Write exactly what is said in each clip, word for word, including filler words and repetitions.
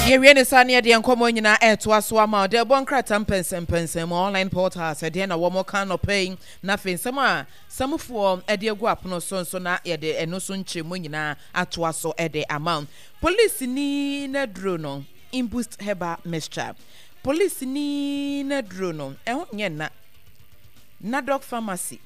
Yɛwie ne saa ne yɛdeɛ nkɔmmɔ nyinaa ɛtoa so ama ɔde ɛbɔ nkrataa mpɛnsɛmpɛnsɛn mu online portals, ɛdeɛ na wɔn ka nɔpɛ yi, na afei nsɛm a samufoɔ ɛde agu apono so nso na yɛde ɛno so nkyerɛmu nyinaa atoa so ɛde ama wo. Polisini n'aduro no, Imboost Herbal Mixture, polisini n'aduro no, ɛho nyɛ nna. Nadok Pharmacy,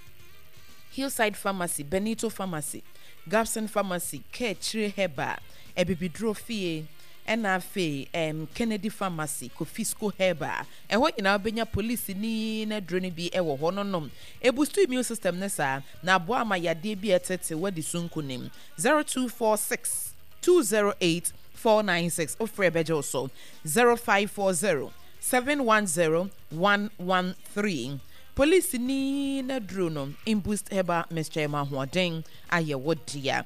Hillside Pharmacy, Benito Pharmacy, Gabson Pharmacy, Kɛkyire Herbal, Abibiduro Fie, ɛna afei um, Kennedy Pharmacy, Kofisco Herbal. Ɛhɔ nyinaa wobɛnya polisini n'aduro no bi ɛwɔ hɔ no nom. Eboost immune system ne saa na aboa ama yadeɛ bi a ɛtete wadi so nkonim. zero two four six two zero eight four nine six, wofrɛ bɛgye wo so. zero five four zero seven one zero one one three. Polisini n'aduro no, Imboost Herbal Mixture, ma ahoɔden ayɛ wo dea.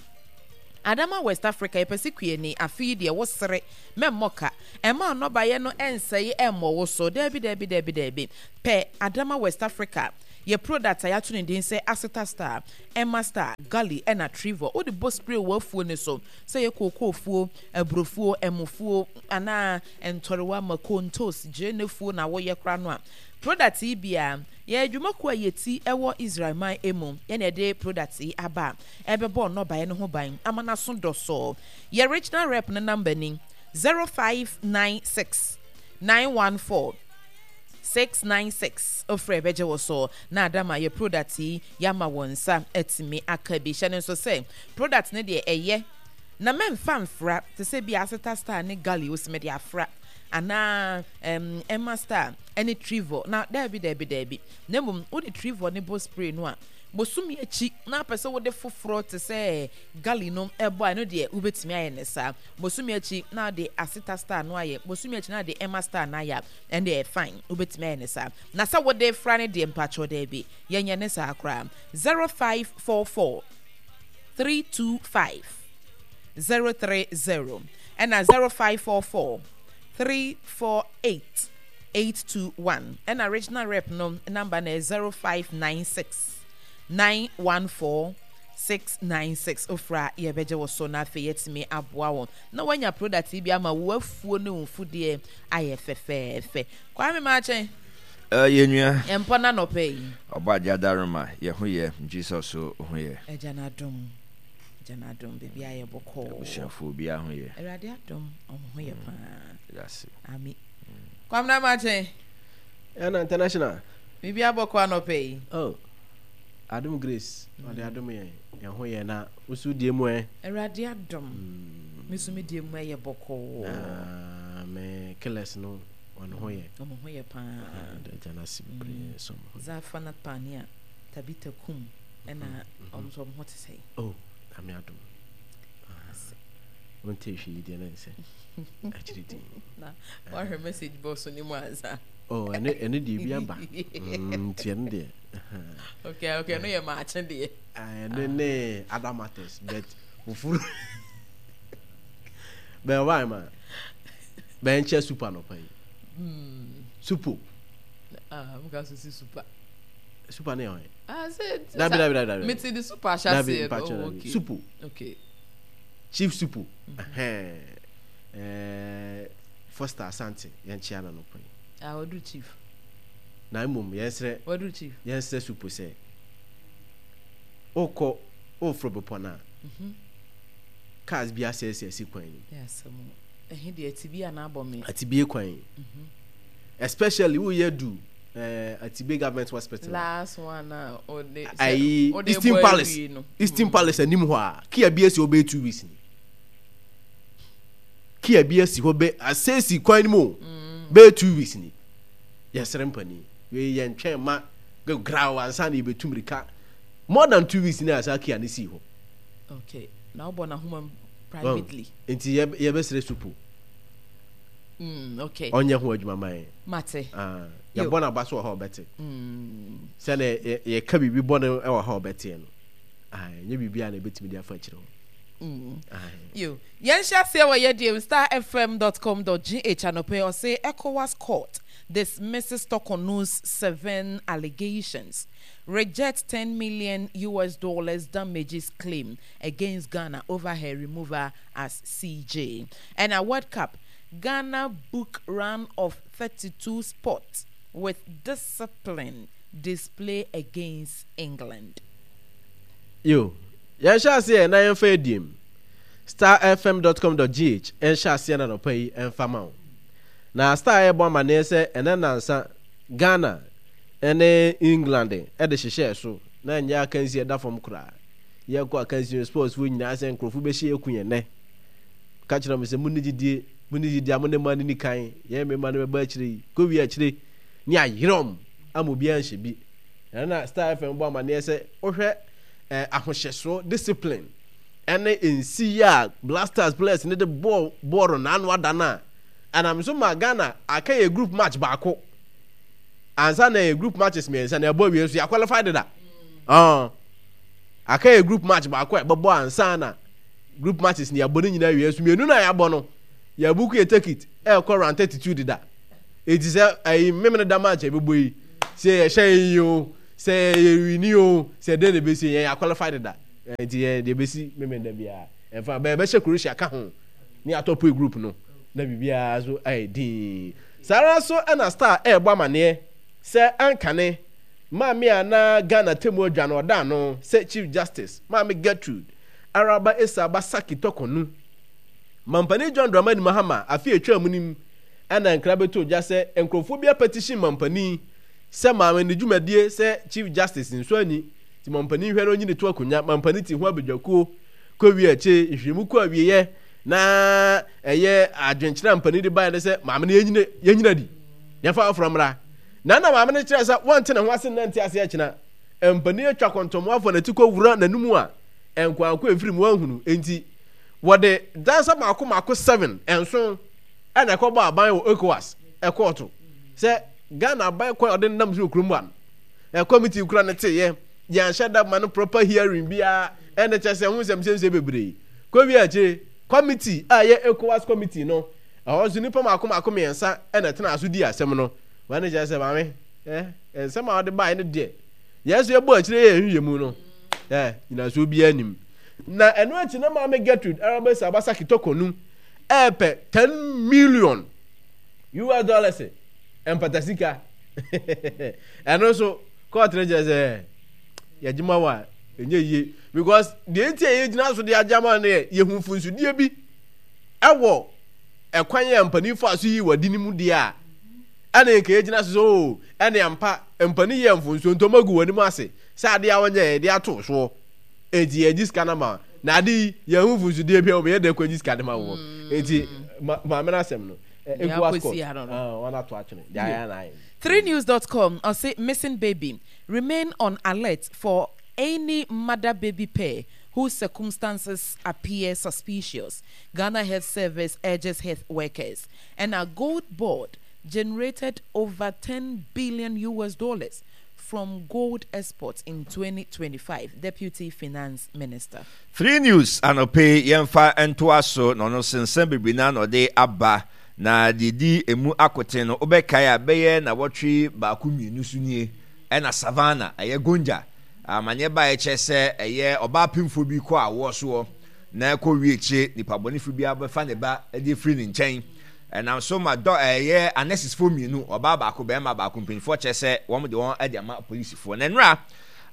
Adama West Africa, yɛpɛ sɛ kuani afei deɛ wosere mɛmmɔ ka ɛma nnɔbaeɛ no ɛnsɛe ɛmmɔ wo so. Daabi, daabi, daabi, daabi. Pɛ Adama West Africa yɛ product a yɛato ne din sɛ Aseta Star, Emma Star, Gully ɛna Trivor. Wode bɔ spray wɔ afuo ne so, sɛ yɛ kookoofuo, aburofuo, ɛmofuo anaa ntɔrewa, mako, ntos, gyenefuo na woyɛ kora no a, product yi bia yɛ adwumakuo a yɛti ɛwɔ Israel man emu yɛna yɛde product yi aba a ɛbɛbɔ nnɔbaeɛ no ho ban ama n'aso dɔsɔɔ. Yɛ regional rep no number ni zero five nine six nine one four six nine six. Ofrɛ bɛgye wɔ so na adama yɛ product yi yɛama wɔn nsa atumi aka bi. Hyɛ no nso sɛ product no deɛ ɛyɛ na mɛmfa mfra te sɛ bi Aseta Star ne Gali osime de afra anaa um, Emma Star ne Trivor na daabi, daabi, daabi. Na mmom wode Trivor ne bɔ spray no a, bosome akyi na apɛ sɛ wode foforɔ te sɛ Gali no ɛbɔ a, ɛno deɛ wobɛtumi ayɛ ne saa. Bosome akyi na de Aseta Star no ayɛ, bosome akyi na de Emma Star no ayɛ a, ɛno deɛ fine, wobɛtumi ayɛ ne saa. Na sɛ wode fra no deɛ, mpakyɛw, daabi, yɛnyɛ ne saa koraa. zero five four four three two five zero three zero ɛna zero five four four three four eight eight two one, ɛna regional rep no number na zero five nine six nine one four six nine six. Ofra yɛbɛgye wɔ so na afei yɛtumi aboa wɔn na wanya product yi bi ama wo afuo ne wo mfudeɛ ayɛ fɛfɛɛfɛ. Kwame Maakye. Yɛ nua. Mpɔ na nɔpɛ yi. Ɔbɔ agye adaroma, yɛ ho yɛ, Jesus so ho yɛ. Agya n'adom, agya n'adom, biribi ayɛ bɔkɔɔ. Abusuafoɔ obiara ho yɛ? Awurade adom, ɔmo ho yɛ paa. Yɛase. Ami Kwamina Maakye. Ɛna international. Biribi abɔkɔ anɔpɛ yi? Oh, adom grace, ɔde adom yɛn, yɛn ho yɛ. Na wosu die mu ɛ? Awurade adom, me so me die mu ɛyɛ bɔkɔɔ. Na me killers no, wɔn ho yɛ? Ɔmo ho yɛ paa. Agya no ase bebree so ɔmo ho yɛ. Zafanat Pania, Tabita Kum, ɛna ɔmo nso ɔmo ho te sɛ? Oh, ame adom wonte hwee yi deɛ na nsɛ akyiri din. Na wahwɛ message box ne mu ansa? Oh, ɛno ɛno deɛ bi aba Mm, nti ɛno deɛ. okay okay ɛno yɛ maakye deɛ. Ɛno ne other matters, but ofuru bɛn ɔbaa ma bɛn kyɛ super nɔpa yi supo. Ah, mo ka so si super. Super ne yɛ hɔn? Ah, sɛ Dabi, dabi, dabi, dabi. Mete de super ahyɛ Dabi, aseɛ. mpakyɛ. Oh, dabi. okay. Supo. Okay. Chief Supo, ɛhɛn, ɛɛ Foster Asante, yɛn kyea na nɔpa yi. Ah, wadu chief. Na mmom yɛnsrɛ Wadu chief. Yɛnsrɛ Supo sɛ wokɔ woforo bepɔ no a, cars bi asɛesɛ asi kwan no mu. Yɛ asɛm o. Ɛhe deɛ, ati bi a na abɔ me? Atibie kwan yi, especially woyɛ du ɛɛ Atibe Government Hospital a, Last one a ɔde ayi ɔde Eastern bɔ Palace awie no. Eastern Palace anim hɔ a, Kia bi asi hɔ bɛyɛ two weeks ni. Kia bi asi hɔ bɛ asɛesi kwan no mu o, bɛyɛ two weeks ni. Yɛsrɛ mpanin wei, yɛntwɛn ma graw ansa na yɛbɛtu mirika. More than two weeks ni a saa Kia no sii hɔ. Okay, na wobɔ n'ahoma mu privately. Nti yɛ- yɛbɛsrɛ Supo mm, okay ɔnyɛ ho adwuma ma yɛn. Mate. Ah, Yo. yɛbɔ n'aba so wɔ hɔ a ɔbɛte mm. sɛne yɛ- yɛka biribi bɔne wɔ hɔ a ɔbɛteɛ no. Ah, ɛnyɛ biribi a na ɛbɛtumi de afa akyerɛ hɔ. Mm. Ah, Yo, yɛnhyɛ aseɛ wɔ yɛdeɛ star F M dot com dot G H anɔpɛ. Ɔse ECOWAS court dismisses Torkornoo's seven allegations, rejects ten million U S dollars damages claim against Ghana over her removal as C J. Ɛna World Cup, Ghana book round of thirty-two spot with discipline display against England. Yo, yɛnhyɛ aseɛ na yɛmfa adiem star F M dot com dot G H ɛnhyɛ aseɛ na nɔpa yi ɛmfa ma wo. Na Star ɛbɔ amanneɛ sɛ ɛnɛ nansa Ghana ɛne England ɛde hyehyɛɛ so na ɛnyɛ akansi ɛda fam koraa. Yɛkɔ akansi sports foɔ nyinaa sɛ nkurɔfoɔ bɛhyɛ yɛku yɛn nɛ. Ka kyerɛ mo sɛ mo ne gyidie, mo ne gyidie a mo ne mma no ni kan, yɛn mmarima no bɛba akyire yi kɔwie akyire ne ayerɛm ama obiara nhyɛ bi. Ɛno na Star F M bɔ amanneɛ sɛ wohwɛ eh, ahohyɛsoɔ, discipline ɛne nsi yi a Black Stars players ne de bɔɔl bɔɔl n'ano ada no a ɛnam so ma Ghana aka yɛ group match baako ansa na yɛ group matches mmiɛnsa na ɛbɔ awie nso yɛ qualify deda. Ɔn aka yɛ group match baako a ɛbɛbɔ ansa na group matches ne yɛabɔ ne nyinaa awie nso mmienu na yɛabɔ no, yɛabook yɛ ticket ɛrekɔ round thirty two deda. Eti sɛ ɛyi mmemme da match a ɛbɛbɔ yi sɛ yɛhyɛ yɛn yi o, sɛ yɛ win o, sɛ den na ɛbɛsi yɛn, yɛ qualify deda. Nti yɛn deɛ ɛbɛsi mmemme da biara ɛnfa bɛyɛ bɛhyɛ Croatia ka ho ne atɔ group no na biribiara so ayɛ din. Saa ara nso ɛna Star ɛrebɔ amaneɛ sɛ ankane maame a na Ghana temu adwa no ɔda ano sɛ Chief Justice Maame Gertrude Araba Esaaba Sackey Torkornoo, Mampanin John Dramani Mahama afe atwa mu nim ɛna nkra bɛtɔ dwa sɛ nkurɔfoɔ bi apetition mampanin sɛ maame ne dwumadie sɛ Chief Justice nso anyi nti mampanin hwɛ no ɔnyi ne to akonnwa. Mampanin ti ho abadwakuo kɔwie akyire nhwehwɛmu kɔ awieɛ na ɛyɛ adwenkyerɛ a mpanin de baeɛ ne sɛ maame no yɛnyina yɛnyina di yɛmfa afoforɔ mmra. Na na maame no kyerɛ sɛ wɔnte ne ho ase nna nte ase akyina mpanin atwa kɔntɔmmoafoɔ n'ati kɔwura n'anum a nkoanko mfiri mu ahunu. Nti wɔde dansa mako mako seven nson ɛna ɛkɔbɔ aban wɔ ECOWAS ɛkɔɔto sɛ Ghana aban kwan a ɔde nam so wɔ kurom ha no, committee kura ne teyɛ yɛnhyɛ da ma no proper hearing biara ɛna kyerɛ sɛ ho nsɛm nsɛmsɛm bebree kɔwie akyire. Committee a ɛyɛ ECOWAS committee no, ɛhɔ nso nipa mako mako mmiɛnsa ɛna ɛtena so di asɛm no. Wɔn ani kyerɛ sɛ maame ɛ nsɛm a wɔde baeɛ no deɛ, yɛn nso yɛbɔ akyire yɛ nhwehwɛ mu no ɛ nyinasoɔ biara nim. Na ɛno akyi na Maame Gertrude Araba Esaaba Sackey Torkornoo ɛɛpɛ ten million U S dollars mpatasika. Ɛno nso court no kyerɛ sɛ yɛgye ma wa ɛnyɛ yie because deɛ nti a yɛgyina so de agye ama no yɛ yɛhu mfunsudeɛ bi ɛwɔ ɛkwan yɛ mpanimfoɔ a so yi wɔ di ne mu deɛ a ɛna nka yɛgyina so sɛ oo ɛne ampa mpanin yɛ mfonsuo nti ɔmo agu wɔn anim ase sɛ adeɛ a wɔnyɛ yɛde ato soɔ eti yɛgye sika no ma na ade yi yɛn ho mfunsudeɛ bi a wɔn yɛ dɛ kɔ gye sika no ma wɔ. Eti maame no asɛm no ECOWAS court wɔn ato atwene deɛ ayɛ na ayɛ. three news dot com ɔse missing baby, remain on alert for any mother baby pair whose circumstances appear suspicious. Ghana Health Service urges health workers. And a gold board generated over ten billion U S dollars from gold exports in twenty twenty-five. Deputy Finance Minister. Three News anɔpɛ yɛmfa ntoa so na ɔno sensɛn bebree na ɔde aba na deɛ di emu akoten no, wobɛkae a bɛyɛ na wɔtwe baako mmienu so nie ɛna Savannah ɛyɛ Gonja amanneɛ ba ɛkyɛ sɛ ɛyɛ ɔbaa pemfoɔ bi kɔ awoɔ soɔ na ɛkɔ wie akyire nipa bɔnefo bi abɛfa ne ba de firi ne nkyɛn. Ɛnam so ma dɔ ɛyɛ anɛsisfoɔ mmienu, ɔbaa baako, bɛrima baako, mpanyinfoɔ kyerɛ sɛ wɔn de wɔn de ama polisifoɔ. Na nnura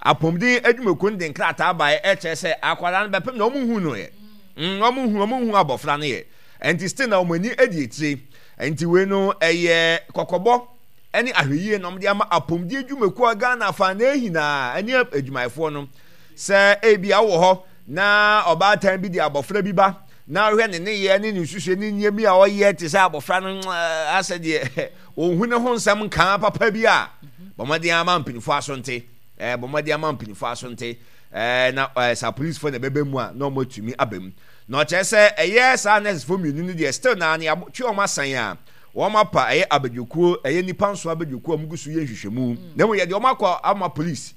apɔmuden adwumakuo no de nkrataa baeɛ ɛkyerɛ sɛ akwadaa no bɛpem na wɔn hu no yɛ mm wɔn hu wɔn hu abɔfra no yɛ nti still na wɔn ani adi akyire. Nti wei no ɛyɛ kɔkɔbɔ ɛne ahwɛyie na wɔde ama apɔmuden adwumakuo a Ghana afa na ehinaa ɛne adwumayɛfoɔ no sɛ ebi awɔ hɔ na ɔbaatan bi de abɔfra bi ba na ɔhwɛ ne nneyɛɛ ne ne nsusuɛ ne nneɛma bi a ɔyɛ te sɛ abɔfra no asɛ deɛ ɔnhu ne ho nsɛm nkaa papa bi a, bɔ mmɔden ama mpanyinfoɔ aso nte ɛɛ bɔ mmɔden ama mpanyinfoɔ aso nte ɛɛ na ɛɛ sa polisifoɔ na ɛbɛbɛ mu a na wɔn atumi aba mu. Na ɔkyerɛ sɛ ɛyɛ saa nursefoɔ mmienu no deɛ, still na ne abotwe wɔn asan a wɔn apa ɛyɛ abadwokuo, ɛyɛ nipa nson abadwokuo a wɔn gu so yɛ nhwehwɛmu, na mmom yɛde wɔn akɔ ama police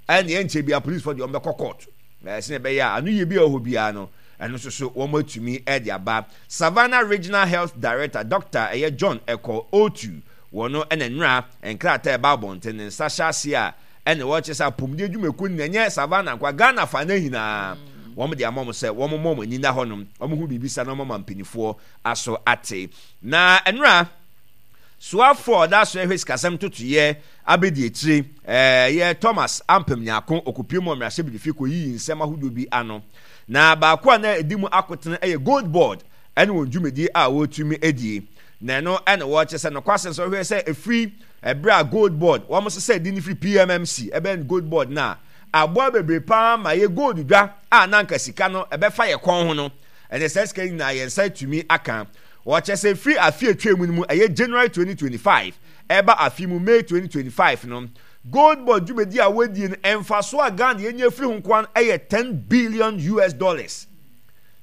ɛna ɛnkyɛ bi a policefoɔ deɛ wɔn bɛkɔ court ɛɛ sɛ ɛbɛyɛ a ano yie bi a ɛwɔ hɔ biara no, ɛno nso so wɔn atumi ɛde aba. Savannah Regional Health Director Doctor ɛyɛ John Ɛkɔ Otu wɔn no ɛna nnura nkrataa ɛba abɔnten ne nsa hyɛ ase a ɛna wɔkyerɛ sɛ apɔmuden adwumakuo no ɛnyɛ Savannah nkwa, Ghana fa ne nyinaa. Wɔn de ama wɔn sɛ wɔn mmɔ wɔn ani nna hɔnom, wɔn ho biribi sa na wɔn ama mpanimfoɔ aso ate. Na nnora soafoɔ a ɔda so ɛhwɛ sikasɛm ntotoeɛ abɛdi akyire ɛyɛ Thomas Ampem Nyarko ɔkɔpue mu wɔ mmarahyɛbadwafie kɔyiyi nsɛm ahodoɔ bi ano. Na baako a na ɛdi mu akotene yɛ Gold Board ɛne wɔn dwumadie a wɔretumi adie. Na ɛno ɛna wɔrekyerɛ sɛ nokwasɛm sɛ wohwɛ sɛ ɛfiri ɛberɛ a Gold Board wɔn sesa din no firi P M M C ɛbɛn Gold Board no a, aboa bebree paa ma yɛ gold dwa a na anka sika no ɛbɛfa yɛ kɔn ho no, ɛnɛ saa sika yi nyinaa yɛn nsa atumi aka. Wɔkyerɛ sɛ firi afe atwa mu no mu, ɛyɛ January twenty twenty-five ɛba afe mu May twenty twenty-five no, Gold Board dwumadi a wɔadie no, mfasoɔ a Ghana yɛnya firi ho nkoa no ɛyɛ ten billion U S dollars,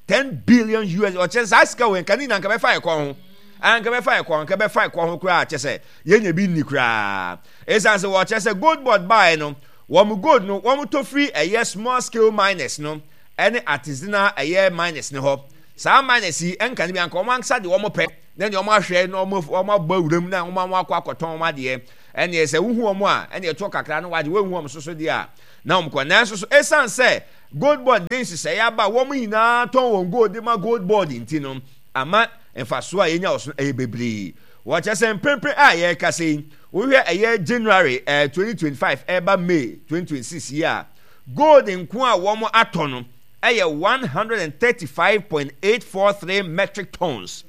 ten billion U S. Ɔkyerɛ saa sika wɔ nka ne nyinaa nka bɛfa yɛ kɔn ho, anka bɛfa yɛ kɔn, nka bɛfa yɛ kɔn ho koraa, kyɛ sɛ yɛnya bi nni koraa. Ɛsiane sɛ wɔkyerɛ sɛ Gold Board baeɛ no, wɔn gold no wɔn tɔ firi ɛyɛ small scale miners no ɛne artisanal ɛyɛ miners ne hɔ. Saa miners yi ɛnka ne bi anka wɔn ankasa de wɔn pɛ na nea wɔn ahwɛ na wɔn wɔn abɔ awuram na wɔn akɔ akɔtɔn wɔn adeɛ. Ɛneɛ sɛ wohu wɔn a, ɛneɛ ɛtoɔ kakra no wagye. Wohu wɔn soso deɛ a na wɔn kɔ. Nanso so ɛsiane sɛ Gold Board de nhyehyɛeɛ aba a wɔn nyinaa tɔn wɔn gold de ma Gold Board nti no, ama mfasoɔ a yɛnya wɔ so no ɛyɛ bebree. Wɔkyerɛ sɛ mprempren a yɛrekasa yi, wohwɛ ɛyɛ January ɛɛ twenty twenty-five ɛreba May twenty twenty-six yi a, gold nko a wɔn atɔ no ɛyɛ one hundred and thirty-five point eight four three metric tons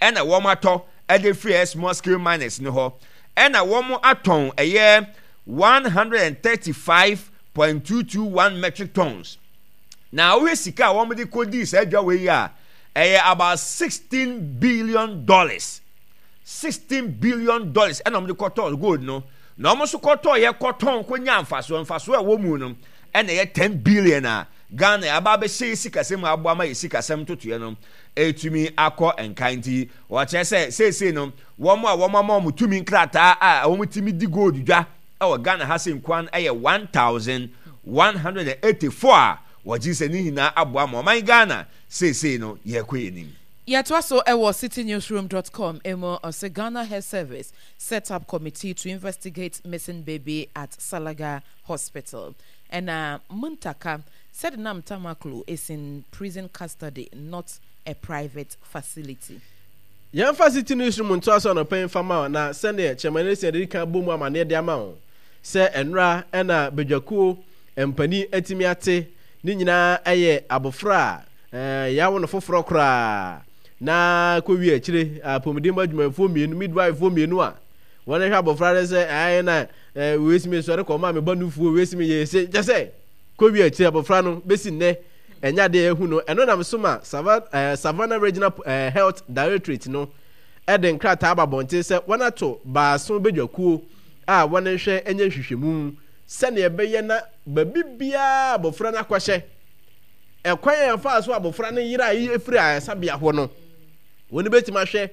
ɛna wɔn atɔ ɛde firi ɛyɛ small scale miners no hɔ, ɛna wɔn atɔn ɛyɛ one hundred and thirty-five point two two one metric tons. Na wohwɛ sika a wɔn de kɔdii saa adwa wei yi a, ɛyɛ about sixteen billion dollars, sixteen billion dollars ɛna wɔn de kɔtɔɔ gold no. Na wɔn nso kɔtɔɔ yɛ kɔtɔn kɔnya mfasoɔ, mfasoɔ a ɛwɔ mu no ɛna ɛyɛ ten billion a Ghana aba abɛhyɛ yɛ sikasɛm mu aboa ma yɛ sikasɛm ntotoeɛ no ɛtumi akɔ nkan. Nti wɔkyerɛ sɛ seesei no, wɔn a wɔn ama wɔn tumi nkrataa a wɔn tumi di gold dwa ɛwɔ Ghana ha sɛ nkuan ɛyɛ one thousand one hundred and eighty four a wɔgye sɛ ne nyinaa aboa ma ɔman Ghana seesei no yɛrekɔ yɛn anim. Yɛtoa so ɛwɔ citynewsroom dot com emu. Ɔsɛ Ghana Health Service set up committee to investigate missing baby at Salaga Hospital. Ɛna Muntaka said Nam Tamaklo is in prison custody, not a private facility. Yɛmfa City Newsroom ntoa so anɔpa yi mfa ma wo. Na sɛdeɛ Chairman Essien de kan bɔ mu amanneɛ de ama wo sɛ nnora ɛna badwakuo mpanin atumi ate ne nyinaa ɛyɛ abɔfra a yɛawo no foforɔ koraa na kɔwie akyire apɔmuden mu adwumayɛfoɔ mmienu, midwife mmienu a wɔn hwɛ abɔfra no sɛ ɛyɛ na wei si mi sɔre kɔ ɔma mi ba nufuo, wei si mi yɛ ese kyɛ sɛ kɔwie akyire abɔfra no bɛsi nnɛ ɛnyɛ adeɛ ɛhu no. Ɛno nam so ma Savannah Regional Health Directorate no ɛde nkrataa aba abɔnten sɛ wɔn ato baason badwakuo a wɔn hwɛ nyɛ nhwehwɛmu sɛnea ɛbɛyɛ na baabi biara abɔfra no akɔhyɛ, ɛkwan a ɛfa so abɔfra no yera yi efiri ayaresabea hɔ no, wɔn bɛtumi ahwɛ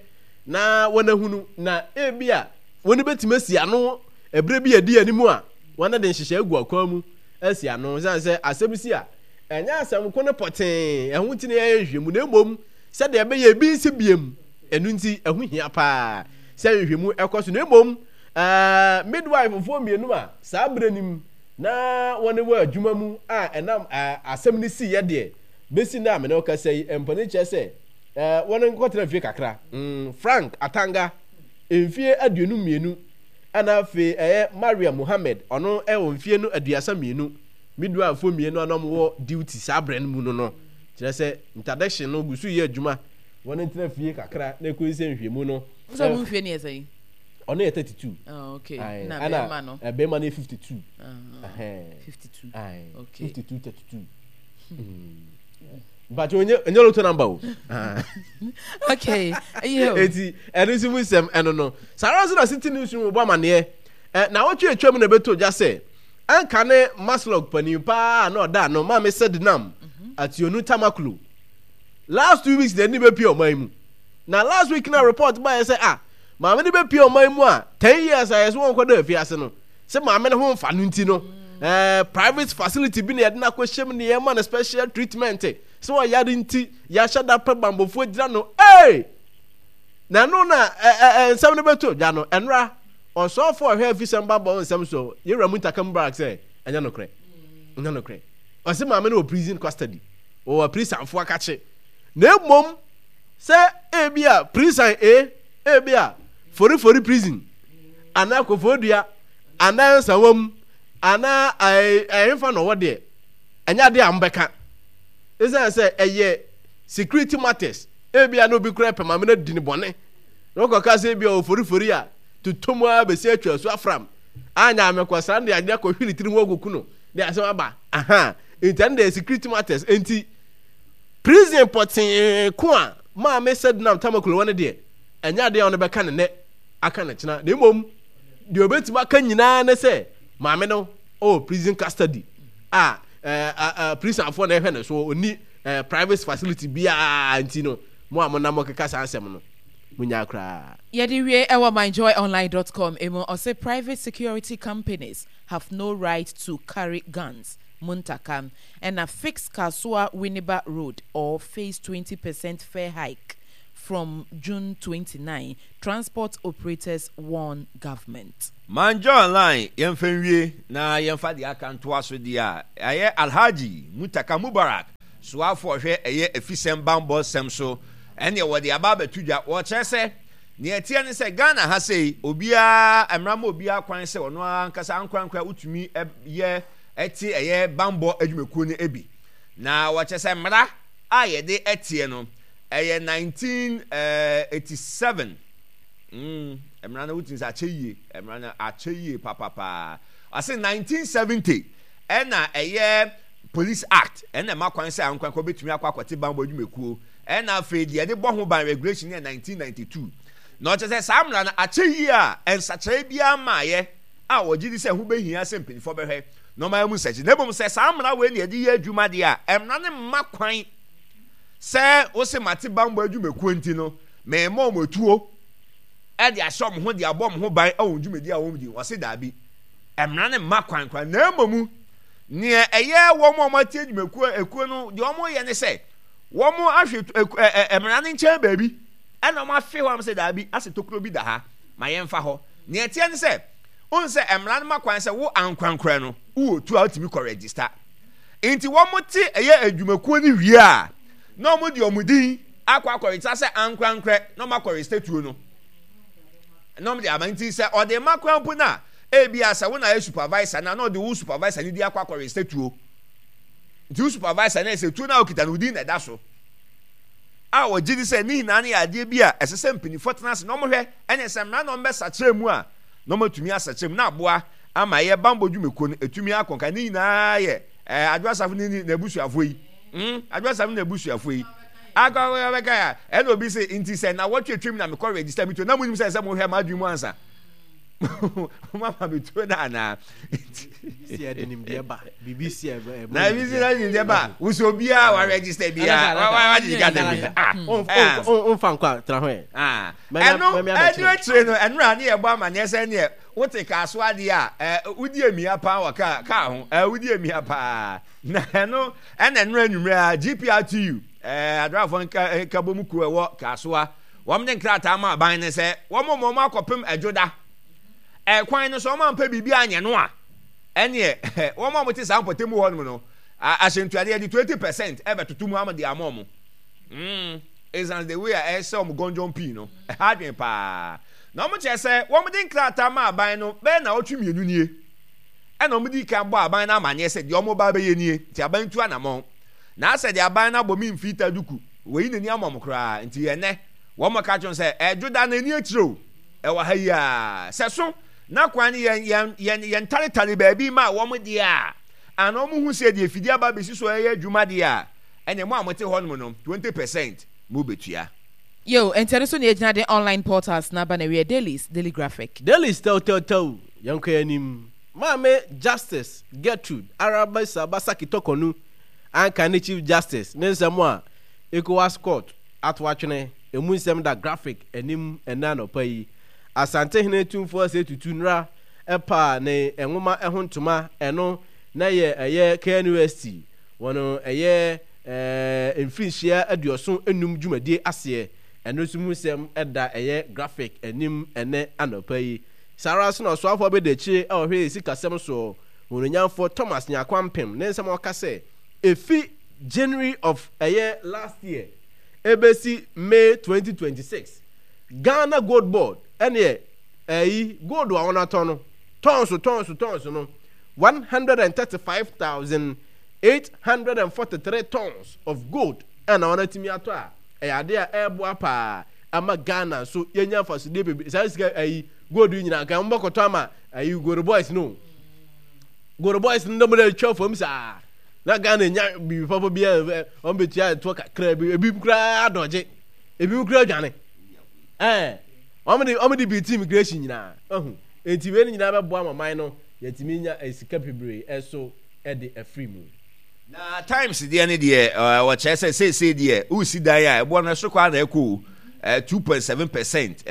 na wɔn ahunu, na ebi a wɔn bɛtumi asi ano ɛberɛ bi a ɛdi anim a wɔn de nhyehyɛ agu akwan mu asi ano. Sɛ sɛ asɛm si a, ɛnyɛ asɛm ko no pɔtee ɛho nti na yɛyɛ nhwehwɛmu, na mmom sɛdeɛ ɛbɛyɛ ebi nsi biem. Ɛno nti ɛho hia paa sɛ nhwehwɛmu ɛkɔ so. Na mmom ɛɛ midwife foɔ mmienu a saa berɛ nim na wɔne wɔ adwuma mu a ɛnam ɛɛ asɛm no si yɛ deɛ bɛsi na amene ɔkasa yi, mpanin kyerɛ sɛ ɛɛ wɔn nkɔtena fie kakra. mm Frank Atanga, mfie aduonu mmienu, ɛna afei ɛyɛ Maria Muhammed, ɔno ɛwɔ mfie no aduasa mmienu. Midwife mmienu a na wɔwɔ duty saa berɛ no mu no no kyerɛ sɛ interdiction no gu so yɛ adwuma, wɔn ntena fie kakra na ekoyi sɛ nhwɛmu no. Sɛ ɔmo mfie ne yɛ sɛn? Ɔno yɛ thirty two. Oh, okay. Na bɛrima no? Bɛrima no yɛ fifty two. Fifty two. Okay. Fifty two thirty two. But onye onye lotto number o. Okay. Eti ɛno nso mu nsɛm ɛno no. Saa ara nso na City News mu bɔ amaneɛ. Ɛ na awɔtwe atwa mu na ɛbɛtɔ dwa sɛ ɛnka ne MASLOC panin paa na ɔda ano, Maame Sedinam Ationu Tamaklo, last two weeks na ɛni bɛpie ɔman mu. Na last week na report baeɛ sɛ ah, maame no bɛpie ɔman mu a ten years a yɛsɛ wɔn kɔda afiase no, sɛ maame no ho mfa no nti no, ɛɛ private facility bi na yɛde no akɔhyɛ mu na yɛma no special treatment sɛ ɔyare nti yɛahyɛ da pɛ bambɔfoɔ gyina no. Ee, na ɛno na ɛɛ nsɛm no bɛto dwa no ɛnora ɔsɔfo a ɔhwɛ afisɛm bambɔ nsɛm so, yɛwura Muntaka Mubarak, sɛ ɛnyɛ nokorɛ, ɛnyɛ nokorɛ. Ɔsɛ maame no wɔ prison custody. Wɔwɔ aprisanfoɔ akakye. Na mmom sɛ ebi a prison A, ebi a Forifori prison, anaa Koforidua, anaa Nsawam, anaa ɛhefa na ɔwɔ deɛ, ɛnyɛ adeɛ a mobɛka. Ɛsiane sɛ ɛyɛ security matters, ebi a na obi koraa pɛ maame no adi ne bɔne, na ɔkɔka sɛ ebi a ɔwɔ Forifori a, totɔ mu ara bɛsi atwa asu afram. Anya amekɔsra no de adeɛ akɔhwi ne tiri ho akɔku no, de asɛm aba. Aha, nti ɛno deɛ security matters. Nti prison pɔtee ko a maame Sedinam Tamaklo wɔ no deɛ, ɛnyɛ adeɛ a ɔno bɛka ne nɛ aka ne kyena. Na mmom deɛ ɔbɛtumi aka nyinaa ne sɛ maame no ɔwɔ prison custody a ɛɛ ɛɛ prisonfoɔ na ɛhwɛ ne so, ɔnni ɛɛ private facility biara nti no, mo a monam mokeka saa nsɛm no, monyaa koraa. Yɛde wie ɛwɔ myjoyonline dot com emu, ɔse private security companies have no right to carry guns, Muntaka, ɛna fix Kasoa Winneba road or face twenty percent fare hike from June twenty nine, transport operators warn government. Myjoyonline yɛmfa nwie na yɛmfa deɛ aka ntoa so deɛ a, ɛyɛ Alhaji Muntaka Mubarak soafoɔ ɔhwɛ ɛyɛ afisɛm banbɔ nsɛm so ɛneɛ wɔde aba abɛto dwa. Wɔkyerɛ sɛ nea ɛteɛ ne sɛ Ghana ha sei obiara mmara ma obiara kwan sɛ ɔno ara ankasa ankorankora wotumi yɛ ɛte ɛyɛ banbɔ adwumakuo no bi. Na wɔkyerɛ sɛ mmara a yɛde ɛteɛ no ɛyɛ nineteen eighty seven. Mm, mmara no wotumi sɛ akyɛ yie, mmara no akyɛ yie papapaa. Ɔse nineteen seventy ɛna ɛyɛ Police Act ɛna ɛma kwan sɛ ankorankora bɛtumi akɔ akɔte banbɔ adwumakuo. Ɛna afei deɛ yɛde bɔ ho ban regulation yɛ nineteen ninety two. Na ɔkyerɛ sɛ saa mmara no akyɛ yie a nsakyeraɛ biara mmaeɛ a wɔgye di sɛ ɛho bɛhia sɛ mpanimfoɔ bɛhwɛ na wɔayɛ mu nsakyeraɛ. Na mmom sɛ saa mmara wei na yɛde yɛ adwuma deɛ a, mmara no mma kwan sɛ wose mate banbɔ adwumakuo nti no merema wɔn atuo de ahyɛ wɔn ho de abɔ wɔn ho ban wɔ wɔn dwumadi a wɔdi. Wɔse daabi, mmara no mma kwan koraa. Na mmom nea ɛyɛ wɔn a wɔate adwumakuo ekuo no deɛ wɔyɛ ne sɛ wɔahwɛ ɛ ɛ mmara no nkyɛn baabi ɛna wɔafe hɔ am sɛ daabi asɛ tokuro bi da ha ma yɛmfa hɔ. Nea ɛteɛ ne sɛ wohu sɛ mmara no ma kwan sɛ wo ankorankorɛ no wowɔ tuo a wotumi kɔ register. Nti wɔte ɛyɛ adwumakuo no wie a na wɔde wɔn din akɔ akɔ register sɛ ankorankorɛ na wɔakɔ register tuo no na wɔde ama. Nti sɛ ɔde ma koraa mpo no a ebia sɛ wo na ayɛ supervisor no a na ɔde wo supervisor no din akɔ akɔ register tuo. Nti wo supervisor no sɛ tuo no a okita no wo din na ɛda so. A wɔgye di sɛ ne nyinaa no yɛ adeɛ bi a ɛsɛ sɛ mpanimfoɔ tena ase na wɔhwɛ ɛne sɛ mmara na wɔbɛsakyera mu a na wɔatumi asakyera mu na aboa ama ɛyɛ bammɔ dwumakuo no ɛtumi akɔ nka. Ne nyinaa yɛ ɛɛ Adwo Asafo ne n'abusuafoɔ yi. Mm, Adwo Asafo ne n'abusuafoɔ yi. Akɔ bɛka ya ɛna obi sɛ nti sɛ na wɔtwe twam na mekɔ register mi tuo na mo nim sɛ sɛ mohwɛ m'adwene mu ansa. Mama me tuo no anaa? Si ɛde nimdeɛ ba. Biribi si ɛbɛ. Na ebi si ɛde nimdeɛ ba. Wosɛ obiara wa register biara wa wa gye ka dɛm. Ah. Nfa nkɔ a tena hɔ yɛ. Ah. Ɛno ɛno akyire no ɛno a ne yɛ bɔ amaneɛ sɛ neɛ wote kaa so adeɛ a ɛɛ wodi emia paa wɔ kaa kaa ho ɛɛ wodi emia paa na ɛno ɛna ɛno anwummerɛ a G P R T U ɛɛ adrafoɔ nka nkabom kuo ɛwɔ Kasoa. Wɔn de nkrataa ma aban no sɛ wɔn ma wɔn akɔpem Ɛdwoda ɛkwan no so, wɔn ampɛ biribi anyɛ no a, ɛneɛ wɔn a wɔte saa mpɔtam hɔ nom no, ahyɛntuadeɛ yɛde twenty percent ɛbɛtoto mu ama de ama wɔn. Mm, ɛsiane the way a ɛsɛ wɔn gɔnjɔn pii no, ɛha adwene paa. Na wɔn kyerɛ sɛ wɔn de nkrataa ma aban no bɛyɛ naawɔtwe mmienu nie, ɛna wɔn di kan bɔ aban no amaneɛ sɛ deɛ wɔn ba bɛyɛ nie, nti aban tu anamɔn. Na asɛ deɛ aban no abɔ me mfii ta duku. Wɔyi n'ani ama wɔn koraa. Nti ɛnnɛ, wɔn ka kyerɛ wɔn sɛ, Ɛdwoda no ani akyire o, ɛwɔ ha yi ara. Sɛ so na kwan no yɛn, yɛn, yɛn, yɛntaretare baabi maa wɔn deɛ a, anaa wɔn hu sɛ deɛ afidie aba abɛsi so reyɛ adwuma deɛ a, ɛnneɛ mo a mote hɔnom no, twenty percent mobɛtua. Yo, enti ɛno so na yɛgyina de online portals no aba n'awieɛ, Dailies, Daily Graphic. Dailies tɛwtɛwtɛw, yɛnkɔ yɛn anim. Maame Justice Gertrude Arabisa Basaki Torkornoo anka ne Chief Justice ne nsɛm a Ecowas Court ato atwene, emu nsɛm da Graphic anim ɛnnɛ anɔpa yi. Asantehene Tumfoɔ Osei Tutu Nra paa ne nwoma ho ntoma, ɛno na ɛyɛ ɛyɛ K N U S T wɔn ɛyɛ mfirinhyia aduɔson nnum dwumadie aseɛ, ɛno nso mu nsɛm da ɛyɛ Graphic anim ɛnnɛ anɔpa yi. Saa ara nso na ɔsoafoɔ abadiakyire a ɔhwɛ sikasɛm soɔ, Onuonyamfoɔ Thomas Nyarko Ampem ne nsɛm a ɔka sɛ, Efi January of ɛyɛ last year ebesi May twenty twenty six, Ghana Gold Board ɛneɛ ɛyi gold a wɔn atɔ no tons tons tons no one hundred and thirty five thousand eight hundred and forty three tons of gold ɛna wɔn atumi atɔ a ɛyɛ adeɛ a ɛreboa paa ama Ghana nso yɛnya mfasodeɛ bebree. Saa sika ɛyi gold yi nyinaa nka wɔn bɛkɔtɔ ama ɛyi Goro boys no, Goro boys no dɛm de atwa fam saa na Ghana nya biribi papa bi a wɔn bɛtua ɛtoɔ kakra bi, ebi koraa adɔgye, ebi koraa adwane, ɛɛ wɔn de wɔn de bi ti immigration nyinaa ɛho. Eti wei no nyinaa bɛboa ama man no yɛtumi nya sika bebree ɛso ɛde afiri mu. Na Times deɛ ne deɛ, wɔkyerɛ sɛ seesei deɛ wosi dan a ɛboɔ no ɛso kɔ na ɛkɔ o, two point seven percent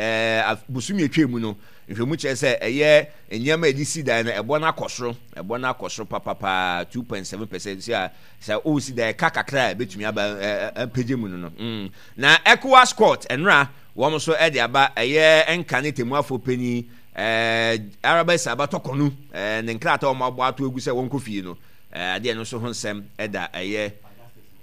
bosome atwa mu no. Nhwɛmu kyerɛ sɛ ɛyɛ nneɛma a yɛde si dan no ɛboɔ no akɔ soro, ɛboɔ no akɔ soro papapaa two point seven percent. Si a sɛ wosi dan ɛka kakra a ɛbɛtumi aba mpagye mu no no mm. Na ECOWAS court ɛnora wɔn nso ɛde aba ɛyɛ nka ne temuafoɔ panyin ɛɛ Araba Saba Tɔkɔnu ɛɛ ne nkrataa wɔn abɔ ato egu sɛ wɔn kɔ fie no, ɛɛ adeɛ no nso ho nsɛm ɛda ɛyɛ